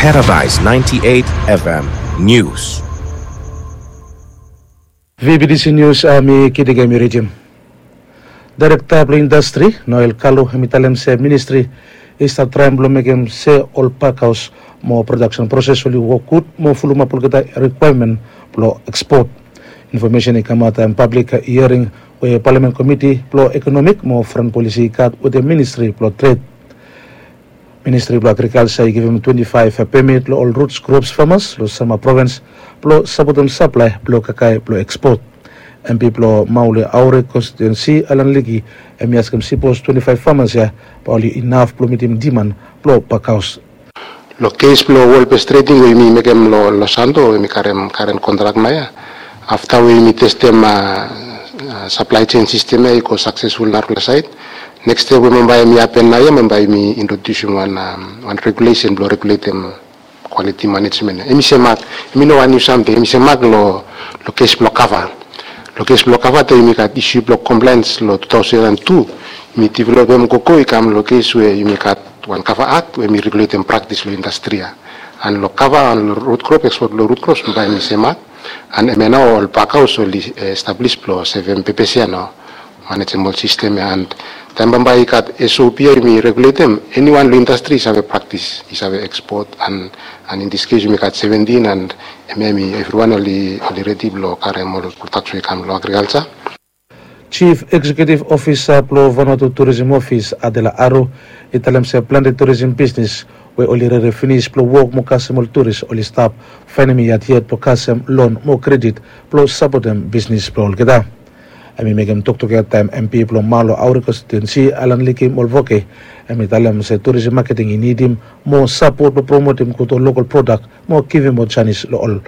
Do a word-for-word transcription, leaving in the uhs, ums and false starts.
Paradise ninety-eight F M News. V B T C News, ah, mi Kidiga mi rijim. Daerekta blong indastri, Noel Kalu, hem i talem se ministri i stap traem blong mekem se ol pakhaos mo prodaksen proses oli wok gud mo fulumap olgeta rikwaemen blong ekspot. Infomesen i kamaot taem pablik hiering we Palamen Komiti blong Ekonomik mo Foren Polisi i gat wetem Ministri blong Tred. Ministri blong Agrikalja i givim twenti faef pemit long ol rut krops famas long Selma provins blong sapotem saplae blong kakae blong ekspot. M P blong Maule Aure konstitiuensi, Alan Liki, hem i askem sipos twenti faef famas ya bae oli inaf blong mitim diman blong pakhaos. Long kes blong wol bes treding we yumi mekem long Los Santos, yumi karem karen kontrak naoia. Afta we yumi testem, ah, ah, saplae sen sistem ya i go saksesful narafala saed, neks step we bambae hemi hapen naoia, bambae yumi introdiusim wan, am, wan regulesen blong reguletem kwaliti manejmen. Hemi semak, hemi no wan niu samting, hemi semak long, long kes blong kava. Long kes blong kava taem yumi gat isu blong komplaens long tu taosen an tu, yumi developem gogo i kam long kes we yumi gat wan kava akt we hemi reguletem praktis long indastri ya. An long kava an long rut krop, ekspot blong rut krops, bambae hemi semak. An hemia nao ol pakhaos oli, eh, establis blong sevem pepes ya nao, manejem ol sistem ya. An taem bambae i gat S O P ya yumi reguletem, eniwan long indastri i save praktis, i save ekspot, an, an in this case yumi gat seventin, an hemia hemi evriwan oli, oli redi blong karem ol prodaks we i kam long agrikalja. Jif Eksekiutiv Ofisa blong Vanuatu Turisim Ofis, Adela Aro, i talem se plante turisim bisnis we oli rere finis blong wok mo kasem ol turis oli stap faenem yet yet blong kasem lon mo kredit blong sapotem bisnis blong olgeta. Hemi mekem toktok ya taem M P blong Maule Aure konstitiuensi, Alan Liki Molvoke, hemi talem se turisim maketing i nidim moa sapot blong promotem gud ol lokol prodak mo givim moa janis long ol